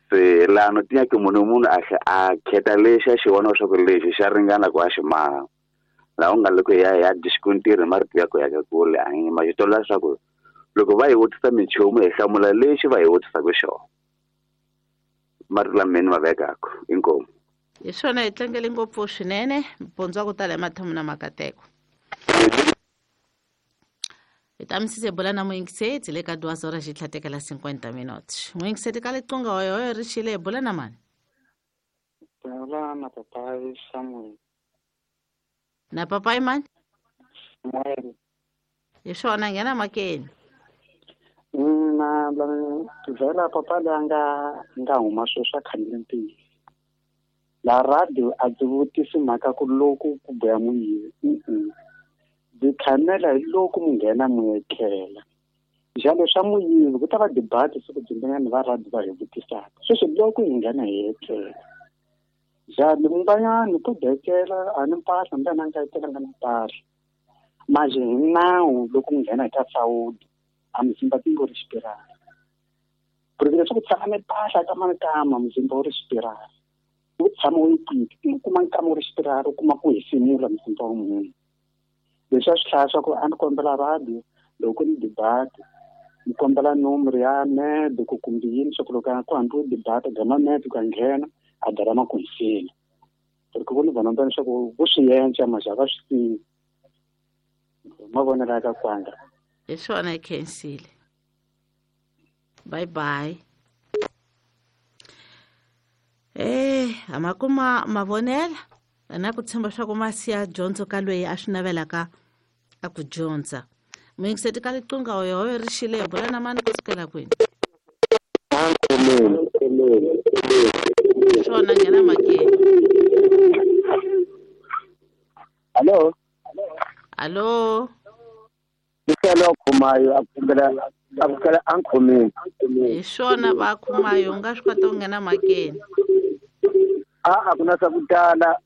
Se lano ti nyaki munhu munhu a kheta lexi a xi vona leswaku lexi xa ringana ku a xi maha. Laha u nga le ku ya disikontiri marito ya ku ya ka kule a hi ma xi tola leswaku loko va hi vutisa minchumu hi hlamula lexi va hi vutisaka xona. Marito lama ni ma vekaka inkomu. Hi swona hi tlangele ngopfu swinene mpundzu wa ku tala emathomo na makateko. Hi ta misise bula na muyingiseti le ka 2 horas xi tlhatekela 50 minutes. Muyingiseti ka liqunga hoyohoyo ri xile hi bula na mani? Bula na papai Samuel. Na papai mani? Samuel. Hi swona nghena makeni. Na vhela papa leyi a nga huma sweswi a khanile ntiyiso. La radio a ndzi vutisi mhaka ku loko ku boya muyivi. Ndzi khamela hi loko mu nghena mu etlela. Njalo swa muyivi ku ta va debate siku byin'wana va radio va hi vutisaka. Sweswi loko hi nghena hi etlela. Njalo munganyani ku bekela a ni mpahla mbe na nga etlela nga na mpahla. Manje hi nawu loko mu nghena hi ta sawudi a muzimba ti ngo ri xipirala. Ku ri leswaku tshama ni mpahla ka mankama muzimba wu ri xipirala. Wu tshama wu yi kwini u kuma nkama wu ri xipirala u kuma ku hefemula muzimba wa munhu. Leswi a swi hlaya swa ku a ni kombela radio loko ni debate ni kombela nomoro ya med ku kumbe yini swa ku loko ku hambiwe debate gama med ku a nghena a dala ma ku hisela. Ku ri ku ni vona leswaku vo swi yenca maxa va swi tivi. Mavonelo ya ka kwanga. Hi swona hi khensile. Bye bye. A ma kuma mavonelo na ku tshemba swa ku ma siya dyondzo ka loyi a swi navelaka a ku dyondza. Muyingiseti ka liqunga hoyohoyo ri xile hi bula na mani ku sukela kwini? Swona nghena makeni. Hello. Hello. Iselo khumayo a kukela a nkhomeni. Hi swona va khumayo u nga swi kota ku nghena makeni. A ku na swa ku tala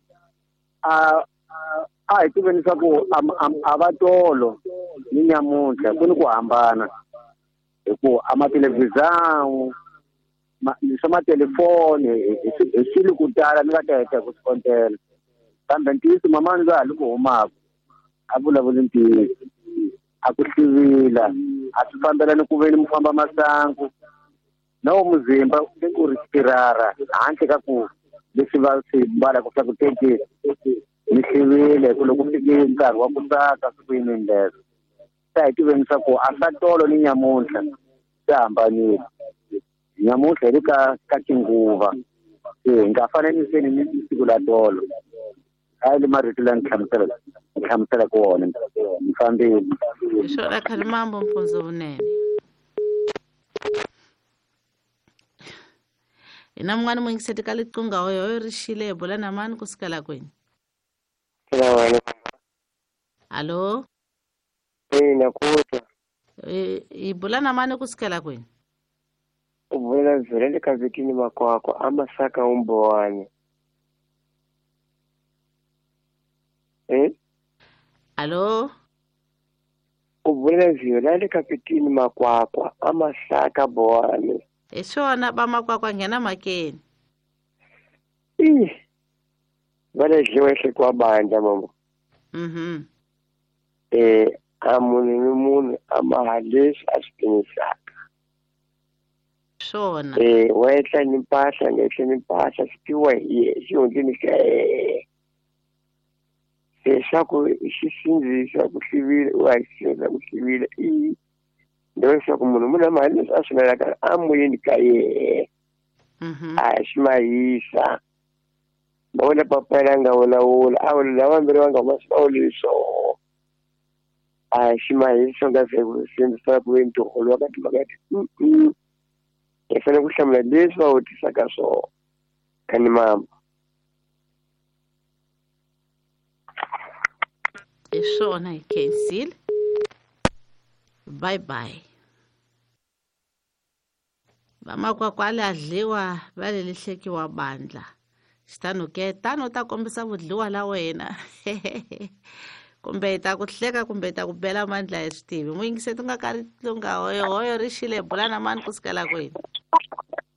a hi tiveni swa ku a va tolo ni nyamuntlha ku ni ku hambana hi ku a mathelevhizani swa matelefoni hi swilo ku tala ni nga ta heta ku swi kontela. Kambe ntiyiso mamani loyi a li ku humaka a vulavuli ntiyiso. A ku hlivila a swi fambelani ku veni mu famba masangu na wo muzimba ku ri xipirara handle ka ku leswi va swi mbalaka swa ku teke mi hlivile ku loko fike nkarhi wa ku tsaka swi ku yini leswo. Se hi tiveni swa ku a swa tolo ni nyamuntlha swi hambanile. Nyamuntlha hi le ka tinguva se hi nga fananiseni ni siku la tolo. A le marito la ni hlamuselaka wona ni fambile. Hi swona khale mambo mpundzu vunene. Hi na mun'wana muyingiseti ka liqunga hoyohoyo ri xile hi bula na mani ku sukela kwini? Hallo. Ina ku twa. Hi bula na mani ku sukela kwini? U bula vhele ka vhikini makwakwa a masaka umbowane. Hallo. U bula vhele ka vhikini makwakwa a masaka bowane. Hi swona va makwakwa nghena makeni. Va le dliwa ehlekiwa bandla mama. A munhu ni munhu a maha leswi a swi timisaka. Swona. Wa etla ni mpahla nga etla ni mpahla swi tiviwa hi yehe xihundleni xa yehe. Se swa ku xi sindzisa ku hlivile u a xi sindzisa ku hlivile i leswaku munhu munhu a maha leswi a swi navelaka emoyeni ka yehe. A xi mahisa. Ma vona papa la nga vulavula a vula lava vambirhi va nga huma swi va vuli swona. A xi mahisa nga se ku sindzisa ku ve ntirho wa ka timhaka ti. Hi fanele ku hlamula leswi va vutisaka swona. Khani mama. Hi swona hi khensile. Bye bye. Vamakwakwa le a dliwa va le lehlekiwa bandla. Xitano ke tano ta kombisa vudliwa la wena. Kumbe hi ta ku hleka kumbe hi ta ku bela mandla hi swi tivi. Muyingiseti u nga ka ri tlunga hoyohoyo ri xile bula na mani ku sukela kwini?